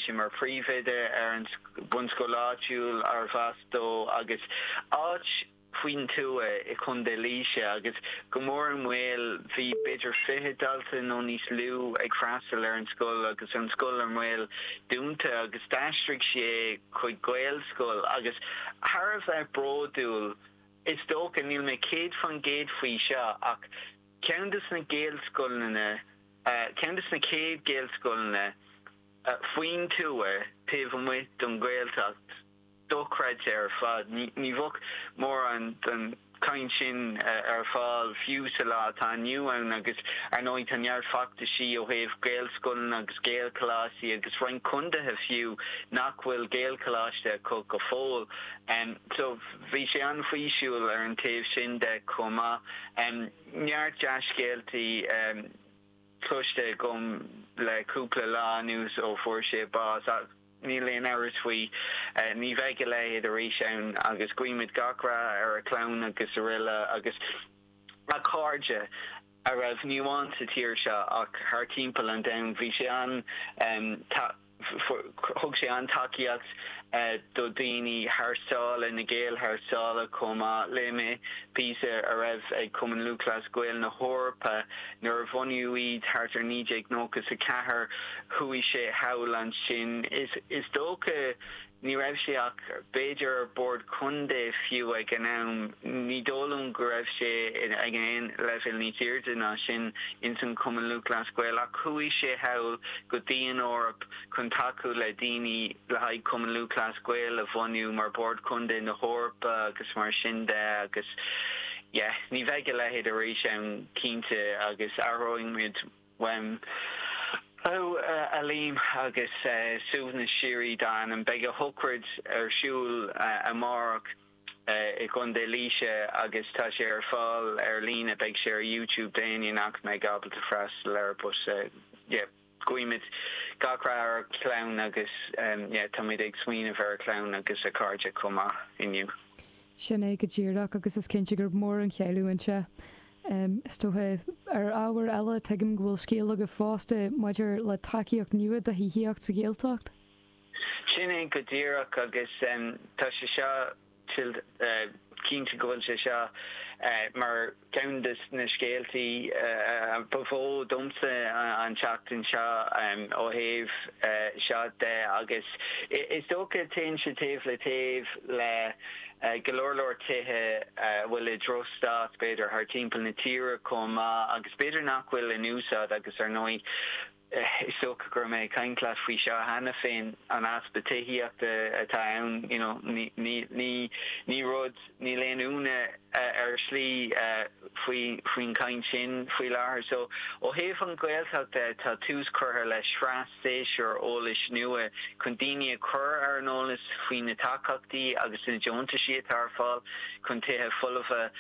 sé mar phríomhoide ar an bunscoil áitiúil arbh as dó agus áit faoin tuath i Contae Laoise agus go mór i mbaol bhí b'fhéidir 20 dalta nó níos lú ag freastal ar an scoil agus an scoil i mbaol dúnta agus d'aistrigh sé chuig Gaelscoil agus thar a bheith bródúil is dócha, níl mé 100% faoi seo ach ceann de na Gaelscoileanna, ceann de na chéad Ghaelscoileanna faoin tuath taobh amuigh den Ghaeltacht. Dochreidte ar fad. Ní bheadh mórán den chaint sin ar fáil fiú sa lá atá inniu ann agus ar ndóigh tá neart feachtaisí ó thaobh Gaelscoileanna agus Gaelcholáistí agus roinnt contaetha fiú nach bhfuil Gaelcholáiste acu go fóill. So bhí sé an-fhísiúil ar an taobh sin de chomh maith. Neart dea-scéaltaí. cloiste agam le cúpla lá anuas ó fuair sé bás ach níl aon amhras faoi, ní bheidh a leithéid arís ann agus guímid gach rath ar a chlann agus araile agus a chairde a raibh ní amháin sa tír seo ach thar timpeall an domhain. Bhí sé an Thug sé an-tacaíocht do dhaoine thar sáile, na Gaeil thar sáile chomh maith. Léigh mé píosa a raibh ag Cumann Lúthchleas Gael na hEorpa nuair a bunaíodh iad thart ar 1994. Chuaigh sé thall ansin. Is dócha Ní raibh sé ach b'fhéidir ar bord contae fiú ag an am. Ní dóigh liom go raibh sé ag aon leibhéal níos airde ná sin ins an Chumann Lúthchleas Gael ach chuaigh sé thall go dtí an Eoraip chun tacú le daoine le haghaidh Cumann Lúthchleas Gael a bhunú mar Bord Contae na hEorpa agus mar sin de agus yeah ní bheidh a leithéid arís ann cinnte agus aireoidh muid uaim. Ó, a Liam, agus suaimhneas síoraí dá anam. Beidh a shochraid ar siúl amárach i gContae Laoise agus tá sé ar fáil ar líne, beidh sé ar YouTube d'éinne nach mbeidh ábalta freastal air but yeah, guímid gach rath ar a chlann agus yeah, táimid ag smaoineamh ar a chlann agus a chairde chomh maith inniu. Sin é go díreach agus is cinnte gur mór an chailliúint é. Is dócha, ar ábhar eile, tuigim go bhfuil scéal agaibh fosta maidir le tacaíocht nua do thithíocht sa Ghaeltacht. Sin é go díreach agus tá sé seo cinnte go bhfuil sé seo mar cheann de na scéaltaí ba mhó domsa an tseachtain seo ó thaobh seo de agus is dócha téann sé taobh le taobh le go leor leor tithe a bhfuil i drochstaid, b'fhéidir, thar timpeall na tíre chomh maith agus b'fhéidir nach bhfuil in úsáid agus ar ndóigh is dócha go raibh mé ag caint leat faoi seo cheana féin, an easpa tithíochta atá ann, you know, ní, ní, ní, ní rud, níl aon ionadh ar shlí faoi, faoin chaint sin faoi láthair. So, ó thaobh an Ghaeltacht de, tá tús curtha le sraith séasúr eolais nua chun daoine a chur ar an eolas faoi na tacaíochtaí agus na deontaisí atá ar fáil chun tithe folmha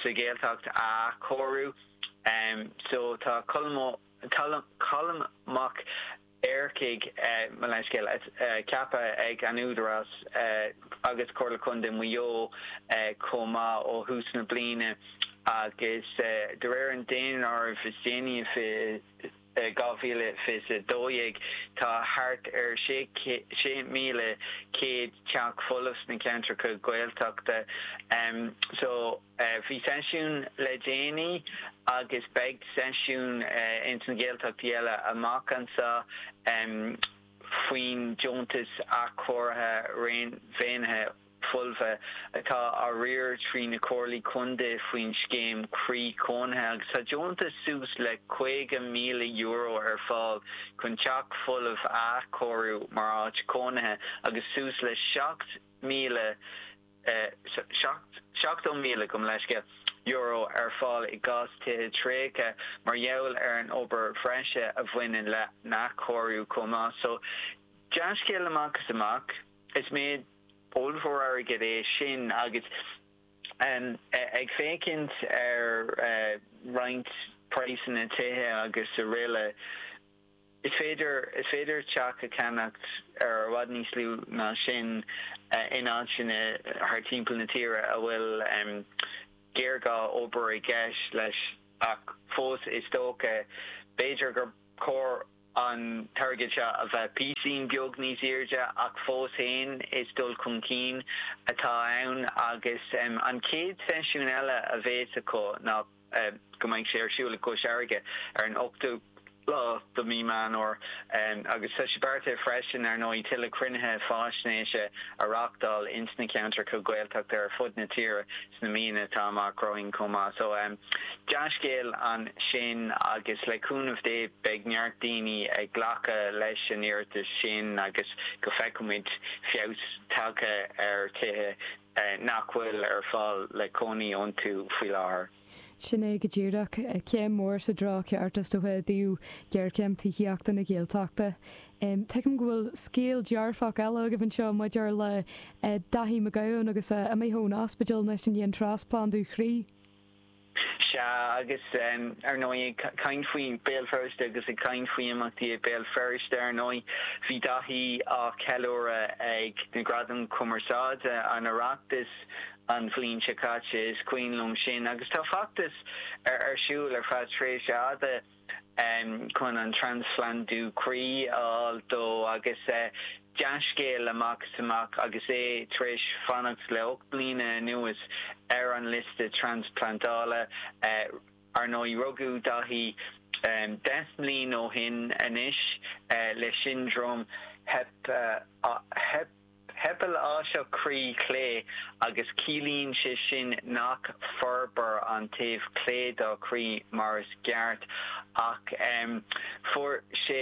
sa Ghaeltacht a athchóiriú. So tá Colm Colm Mac Eachmharcaigh, mo leithscéal, ceaptha ag an Údarás agus Comhairle Contae Mhaigh Eo chomh maith ó thús na bliana agus de réir an daonáirimh is déanaí 2012, tá thart ar 6,100 teach folamh sna ceantracha Gaeltachta. So, bhí seisiún le déanaí agus beidh seisiún ins na Gaeltachtaí eile amach anseo faoin deontas athchóirithe réadmhaoine. folmha atá á riar trí na comhairlí contae faoin scéim Croí Cónaithe agus tá deontas suas le €50,000 ar fáil chun teach folamh a athchóiriú mar áit chónaithe agus suas le 7,000 70,000, gabh mo leithscéal, euro ar fáil i gcás tithe tréigthe mar gheall ar an obair bhreise a bhaineann lena n-athchóiriú chomh maith. So, dea-scéal amach is amach. Is méid ollmhór airgid é sin agus ag féachaint ar roinnt praghsanna tithe agus araile, is féidir, is féidir teach a cheannacht ar i bhfad níos lú ná sin in áiteanna thar timpeall na tíre a bhfuil géarghá obair i gceist leis ach fós is dócha, b'fhéidir gur chóir. an t-airgead seo a bheith píosín beag níos airde ach fós féin is dul chun cinn atá ann agus an chéad seisiún eile a bhéas acu ná go mbeidh sé ar siúl i gCois Fharraige ar an 8ú lá de mí Meán Fhómhair agus tá sé beartaithe freisin ar ndóigh tuilleadh cruinnithe faisnéise a reáchtáil ins na ceantracha Gaeltachta ar fud na tíre sna míonna atá amach romhainn chomh maith. So, dea-scéal ansin agus le cúnamh Dé beidh neart daoine ag glacadh leis an iarratas sin agus go bhfeicfimid feabhas tagtha ar tithe nach bhfuil ar fáil le cónaí iontu faoi láthair. Sin é go díreach. Céim mhór sa treo ceart is dócha i dtaobh ghéarchéim tithíochta na Gaeltachta. Tuigim go bhfuil scéal dearfach eile agaibh anseo maidir le Daithí Mac Gabhann agus é imithe ón ospidéal anois i ndiaidh an trasphlandú chroí. Sea, agus ar ndóigh, ag caint faoi Béal Feirste agus ag caint faoi imeachtaí i Béal Feirste, ar ndóigh, bhí Daithí á cheiliúradh ag na Gradaim Chumarsáide an Oireachtais an bhliain seo caite, is cuimhin liom sin, agus tá feachtas ar siúl ar feadh tréimhse fhada chun an trasphlandú croí a fháil dó agus dea-scéal amach is amach agus é tar éis fanacht le 8 mbliana anuas ar an liosta transplantála. Ar ndóigh, rugadh Daithí 10 mbliain ó shin anois le siondróm Heipeapláiseach croí clé agus ciallaíonn sé sin nach forbraíonn an taobh clé dá chroí mar is ceart ach fuair sé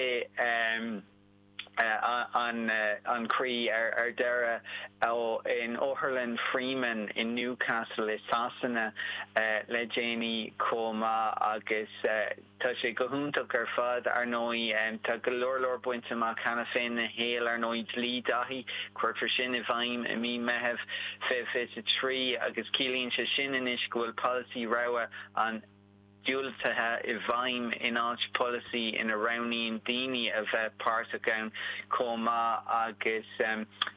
an croí ar deireadh in Otharlann Freeman in Newcastle i Sasana le déanaí chomh maith agus Tá sé go hiontach ar fad, ar ndóigh. Tá go leor leor bainte amach cheana féin ina shaol, ar ndóigh. Dlí Daithí, cuirfear sin i bhfeidhm i mí Meitheamh 2023 agus ciallaíonn sé sin anois go bhfuil polasaí rogha an diúltaithe i bhfeidhm in áit polasaí ina roghnaíonn daoine a bheith páirteach ann chomh maith agus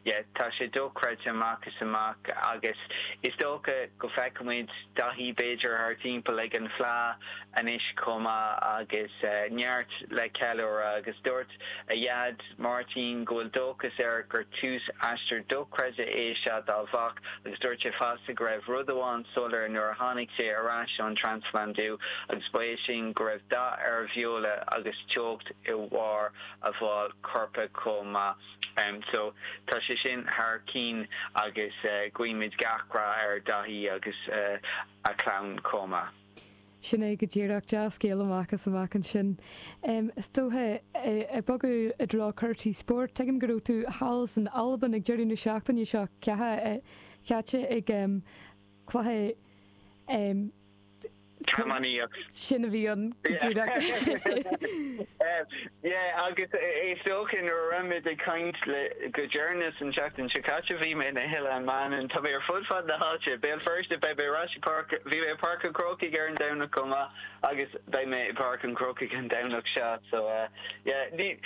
yeah tá sé dochreidte amach is amach agus is dócha go bhfeicfimid Daithí b'fhéidir thar timpeall ag an Fleadh anois chomh maith agus neart le ceiliúradh agus dúirt a dhaid Máirtín go bhfuil dóchas air gur tús aistear dochreidte é seo dá mhac agus dúirt sé fosta go raibh rud amháin soiléir nuair a tháinig sé ar ais ón trasphlandú agus ba é sin go raibh dath ar a bheola agus teocht i bharr a bhall coirp chomh maith. So tá sé sin thar cinn agus guímid gach rath ar Daithí agus a chlann chomh maith. Sin é go díreach, dea-scéal amach is amach ansin. Is dócha, ag bogadh i dtreo cúrsaí spóirt, tuigim go raibh tú thall san Albain ag deireadh na seachtaine seo caite ag cluiche Camógaíocht. Sin a bhí ann go díreach. Yeah, agus is dócha nuair a raibh muid ag caint le go deireanas an tseachtain seo caite bhí mé in Oileán Mhanann. Tá mé ar fud fad na háite. Béal Feirste, beidh mé ar ais i Páirc, bhí mé i Páirc an Chrócaigh ar an Domhnach chomh maith agus beidh mé i bPáirc an Chrócaigh an Domhnach seo. So, yeah, ní,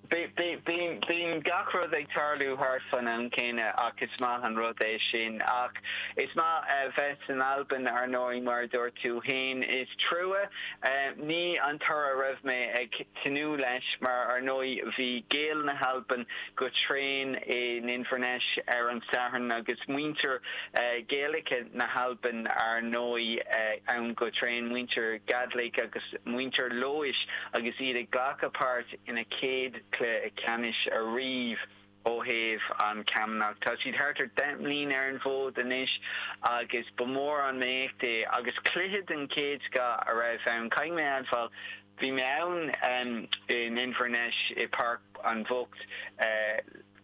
Bíonn gach rud ag tarlú thart fan am céanna ach is maith an rud é sin. Ach is maith a bheith san Albain, ar ndóigh, mar a dúirt tú féin. Is trua ní an toradh a raibh mé ag tnúth leis mar, ar ndóigh, bhí Gaeil na hAlban go tréan in Inverness ar an Satharn agus muintir Gaelacha na hAlban, ar ndóigh, ann go tréan, muintir Gàidhlig agus muintir Leodhais agus iad ag glacadh páirt ina chéad chluiche ceannais ariamh ó thaobh an chamógaíocht. Tá siad thart ar 10 mbliain ar an bhfód anois agus ba mhór an éacht é agus cluiche den chéad scoth a raibh ann. Caithfidh mé a admháil, bhí mé ann in Inverness i Páirc an Bhocht,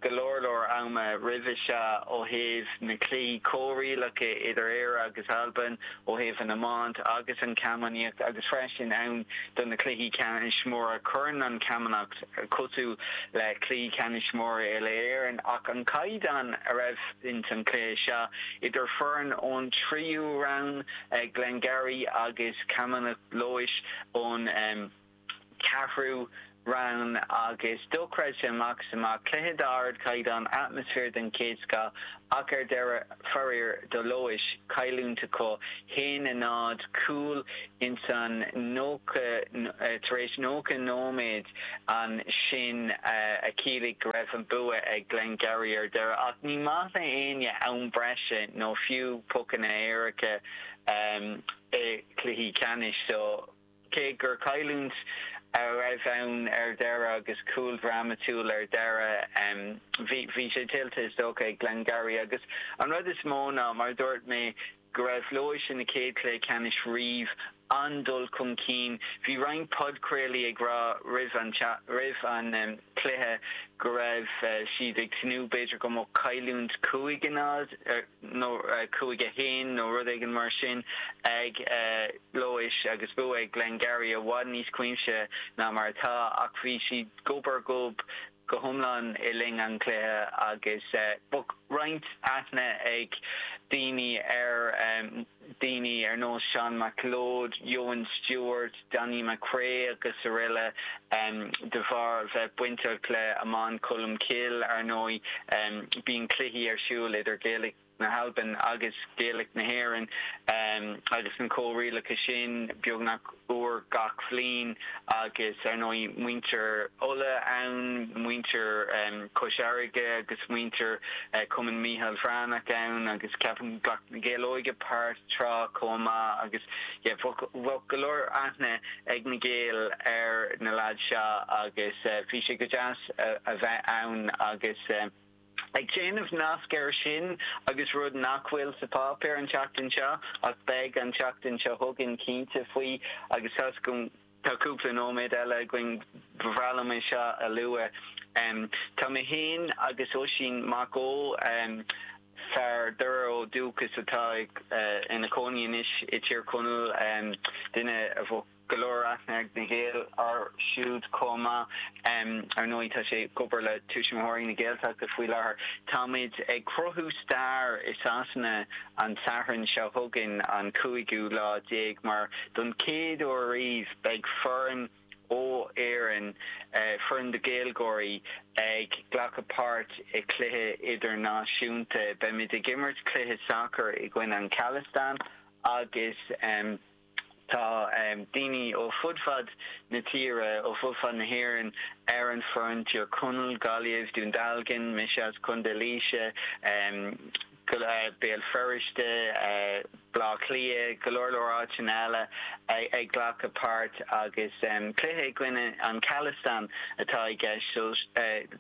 go leor leor ama roimhe seo ó thaobh na cluichí comhrialacha idir Éire agus Albain, ó thaobh an iomáint agus an chamógaíocht agus freisin ann do na cluichí ceannais móra. Cuireann an chamógaíocht cosúil le cluichí ceannais móra uile-Éireann ach an caighdeán a raibh ins an chluiche seo idir foireann ón tríú roinn, Glengarry agus Camanachd Leodhais ón ceathrú. Rann agus dochreidte amach is amach, cluiche d'ardchaighdeán, atmaisféar den chéad scoth ach ar deireadh, faraor do Laois, cailliúint acu, 1, 0, cúl ins an 90, tar éis 90 nóiméad ansin a chiallaigh go raibh an bua ag Glengarry ar deireadh. Ach ní maith le éinne am breise nó fiú pocanna éirice i gcluichí ceannais so. Cé gur cailliúint a raibh ann ar deireadh agus cúl drámatúil ar deireadh, bhí sé tuillte is dócha ag Glengarry agus an rud is mó ná, mar a dúirt mé, go raibh Laois ina chéad chluiche ceannais riamh, an-dul chun cinn. Bhí roinnt podchraolaí ag rá roimh an roimh an cluiche go raibh siad ag tnúth b'fhéidir go mbeadh cailliúint 5, 0, nó 5, 1 nó rud éigin mar sin ag Laois agus bua ag Glengarry i bhfad níos cuimsithe ná mar atá ach bhí siad gob ar ghob go hiomlán le linn an chluiche agus bheadh roinnt aithne ag daoine ar daoine ar nós Seán McLeod, Eoghan Stewart, Danny McCray agus araile de bharr bheith bainteach le Iomáint Cholmcille, ar ndóigh. Bíonn cluichí ar siúl idir Gaelic na hAlban agus Gaelic na hÉireann agus na comhrialacha sin beagnach uair gach bhliain agus ar ndóigh muintir Uladh ann, muintir Chois Fharraige agus muintir Chumann Mícheál Bhreathnach ann agus ceapaim ghlac na Gaeil Óige páirt tráth chomh maith agus yeah bheadh go leor aithne ag na Gaeil ar na lads seo agus bhí sé go deas a bheith ann agus ag déanamh nasc air sin agus rud nach bhfuil sa pháipéar an tseachtain seo ach beidh an tseachtain seo chugainn cinnte faoi agus tá's agam tá cúpla nóiméad eile againn ba bhreá liom é seo a lua. Tá mé féin agus Oisín Mac Ó, fear Doire ó dúchas atá ina chónaí anois i Tír Chonaill, duine a bheadh go leor aithne ag na Gaeil air siúd chomh maith. Ar ndóigh, tá sé ag obair le Tuismitheoirí na Gaeltachta faoi láthair. Táimid ag cruthú stair i Sasana an Satharn seo chugainn, an cúigiú lá déag, mar don chéad uair riamh beidh foireann ó Éirinn, foireann de Ghaeilgeoirí, ag glacadh páirt i cluiche idirnáisiúnta. Beimid ag imirt cluiche sacair i gcoinne an Khalistan agus. Tá daoine ó fud fad na tíre, ó fud fad na hÉireann ar an foireann, Tír Chonaill, Gaillimh, Dún Dealgan, mise as Contae Laoise, Béal Feirste, Baile Átha Cliath, go leor leor áiteanna eile ag glacadh páirt agus cluiche i gcoinne an Khalistan atá i gceist so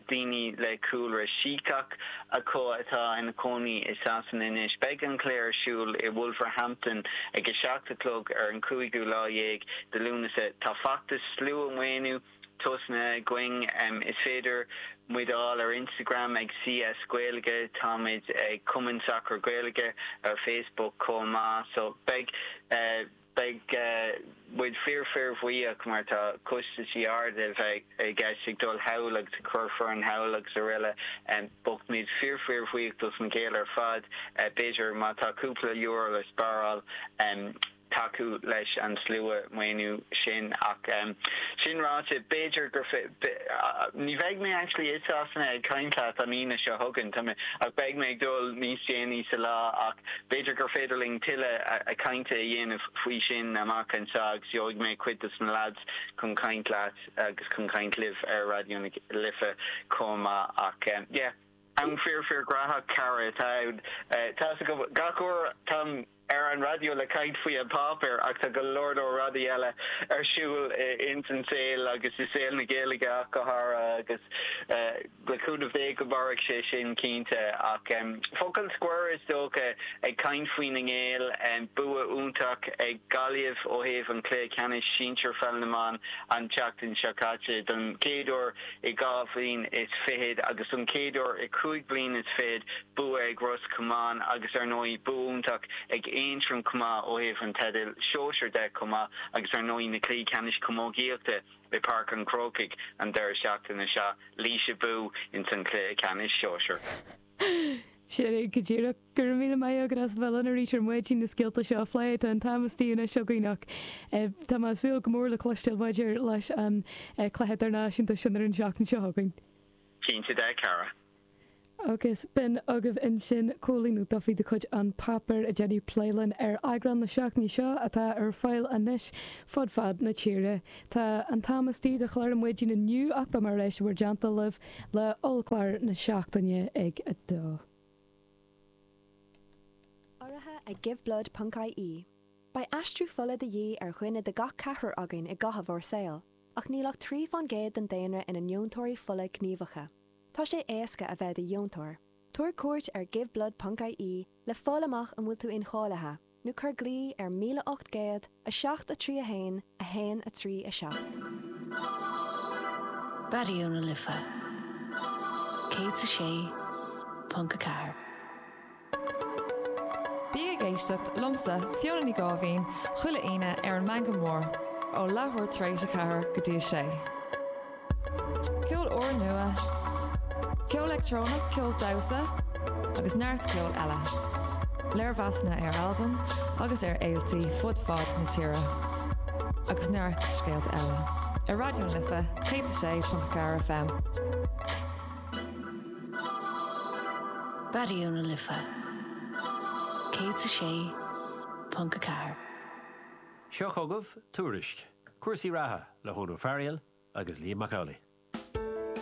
daoine le cúlra Síceach acu atá ina cónaí i Sasana anois. Beidh an cluiche ar siúl i Wolverhampton ag 7 a chlog ar an cúigiú lá dhéag de Lúnasa. Tá feachtas slua-mhaoiniú tosnaithe againn. Is féidir muid a fháil ar Instagram ag CS Gaeilge. Táimid ag Cumann Sacair Gaeilge ar Facebook chomh maith. So beidh. Beidh muid fíor fíor bhuíoch mar tá costaisí arda a bheith i gceist ag dul thall agus ag cur foireann thall agus araile. Beidh muid fíor fíor bhuíoch dos na Gaeil ar fad. B'fhéidir má tá cúpla euro le spáráil tacú leis an slua maoiniú sin. Ach sin ráite b'fhéidir gur ní bheidh mé actually i Sasana ag caint leat an Aoine seo chugainn tá mé ach beidh mé ag dul níos déanaí sa lá ach B'fhéidir gur féidir linn tuilleadh cainte a dhéanamh faoi sin amach anseo agus gheobhaidh mé cuid dos na lads chun caint leat agus chun caint libh ar Raidió na Life chomh maith ach yeah, am fíor fíor graitheach cara atá ann. Tá's agam gach uair táim ar an raidió le caint faoi an páipéar ach tá go leor leor rudaí eile ar siúl ins an saol agus i saol na Gaeilge ach go háirithe agus Le cúnamh Dé go mairfidh sé sin cinnte. Ach focal scoir is dócha, ag caint faoi na nGaeil, bua iontach ag Gaillimh ó thaobh an chluiche ceannais sinsir pheil na mban an tseachtain seo caite don chéad uair i dhá bhliain is fichead agus don chéad uair i chúig bliain is fichead bua ag Ros Comáin agus ar ndóigh bua iontach ag Aontroim chomh maith ó thaobh an teidil sóisir de chomh maith agus ar ndóigh na cluichí ceannais camógaíochta i bPáirc an Chrócaigh an deireadh seachtaine seo. Laois abú ins an chluiche ceannais sóisir. Sin é go díreach. Go raibh míle maith agat as a bheith linn arís ar maidin na scéalta seo a phlé. Tá an t-am istigh anois againn ach tá mé ag súil go mór le cloisteáil maidir leis an chluiche idirnáisiúnta sin ar an seachtain seo chugainn. Cinnte de, a chara. Agus b'in agaibh ansin Cóilín Ó Dufaigh de chuid An Páipéar ag déanamh plé linn ar eagrán na seachtaine seo atá ar fáil anois fud fad na tíre. Tá an t-am istigh do chlár maidin inniu ach beidh mé ar ais i bhur dteannta libh le ollchlár na seachtaine ag 2. Urraithe ag Giveblood ponc ie. Beidh aistriú fola de dhíth ar dhuine de gach ceathrar againn i gcaitheamh ár saoil, ach níl ach 3 fán gcéad den daonra ina ndeontóirí fola gníomhacha. Tá sé éasca a bheith i do dheontóir. Tabhair cuairt ar Giveblood ponc ie le fáil amach an bhfuil tú incháilithe, nó cuir glao ar 1800 7 3 1 1 3 7. Raidió na Life 106.4. Bí ag éisteacht liomsa, Fiona Ní Gáibhín, chuile Aoine ar an Meangadh Mór, ó leathuair tar éis a ceathair go dtí a sé. Ceol úrnua, ceol leictreonach, ceol damhsa agus neart ceoil eile. Léirmheasanna ar albaim agus ar fhéiltí fud fad na tíre. Agus neart scéalta eile. Ar Raidió na Life 106.4 FM. Raidió na Life 106.4. Seo chugaibh Tuairisc, cúrsaí reatha le hEoin Ó Fearghail agus Liam Mac Amhlaigh.